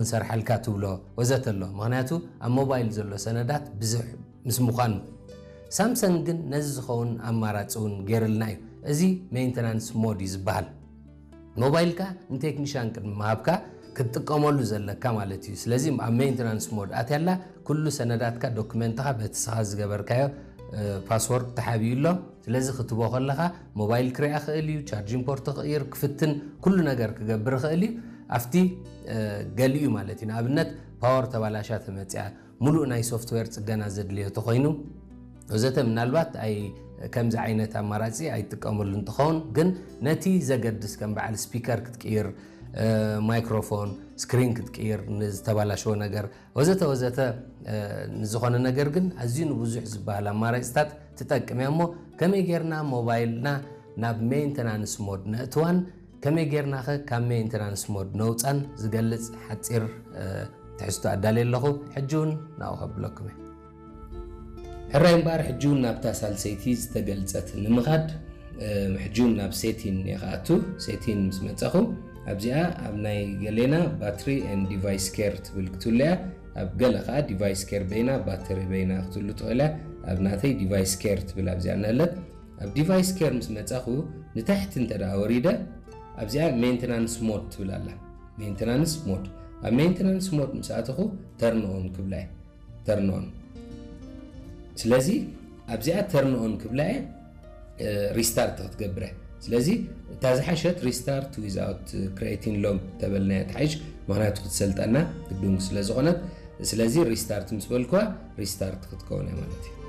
ክንሰርሐልካ ትብሎ ወዘተ ኣሎ። ምክንያቱ ኣብ ሞባይል ዘሎ ሰነዳት ብዙሕ ምስ ምዃኑ። ሳምሰንግ ግን ነዚ ዝኸውን ኣማራፂ እውን ገይርልና እዩ። እዚ ሜንተናንስ ሞድ እዩ ዝበሃል። ሞባይልካ ንቴክኒሻን ቅድሚ ምሃብካ ክትጥቀመሉ ዘለካ ማለት እዩ። ስለዚ ኣብ ሜንተናንስ ሞድ ኣትያላ ኩሉ ሰነዳትካ፣ ዶክመንትኻ በቲ ስኻ ዝገበርካዮ ፓስወርድ ተሓቢኡ ኣሎ። ስለዚ ክትቦ ከለኻ ሞባይል ክሪኣ ክእል እዩ፣ ቻርጂን ፖርት ክቕይር ክፍትን ኩሉ ነገር ክገብር ክእል እዩ። ኣብቲ ገሊኡ ማለት እዩ። ንኣብነት ፓወር ተባላሻ ተመፅያ፣ ሙሉእ ናይ ሶፍትዌር ፅገና ዘድልዮ ተኮይኑ ወዘተ፣ ምናልባት ኣይ ከምዚ ዓይነት ኣማራፂ ኣይጥቀመሉ እንትኸውን፣ ግን ነቲ ዘገድስ ከም በዓል ስፒከር ክትቅይር፣ ማይክሮፎን ስክሪን ክትቅይር፣ ንዝተባላሸወ ነገር ወዘተ ወዘተ፣ ንዝኾነ ነገር ግን ኣዝዩ ንብዙሕ ዝበሃል ኣማራፅታት ትጠቅም እያ። እሞ ከመይ ጌርና ሞባይልና ናብ ሜንተናንስ ሞድ ነእትዋን ከመይ ጌርናኸ ካብ ሜንተናንስ ሞድ ነውፃን ዝገልፅ ሓፂር ትሕዝቶ ኣዳልየ ኣለኹ። ሕጂ እውን ናብኡ ከብለኩም እየ። ሕራይ እምበኣር ሕጂ እውን ናብታ ሳልሰይቲ ዝተገልፀት ንምኻድ፣ ሕጂ እውን ናብ ሴቲን እየ ክኣቱ። ሴቲን ምስ መፀኹ ኣብዚኣ ኣብ ናይ ገሌና ባትሪ and device care ትብል ክትህሉ እያ። ኣብ ገለ ከዓ ዲቫይስ ኬር በይና፣ ባትሪ በይና ክትህሉ ትኽእል እያ። ኣብ ናተይ ዲቫይስ ኬር ትብል ኣብዚኣ እናለት። ኣብ ዲቫይስ ኬር ምስ መፃኹ ንታሕቲ እንተ ደኣ ወሪደ ኣብዚኣ ሜንተናንስ ሞድ ትብል ኣላ። ሜንተናንስ ሞድ። ኣብ ሜንተናንስ ሞድ ምስ ኣተኹ ተርን ኦን ክብላ እየ። ተርን ኦን። ስለዚ ኣብዚኣ ተርን ኦን ክብላ እየ፣ ሪስታርት ክትገብረ። ስለዚ እታ ዝሓሸት ሪስታርት ዊዛውት ክሬቲን ሎግ ተበልናያ ትሓይሽ፣ ምክንያቱ ክትሰልጠና ግዱን ስለ ዝኾነት። ስለዚ ሪስታርት ምስ በልኩዋ ሪስታርት ክትከውን እያ ማለት እዩ።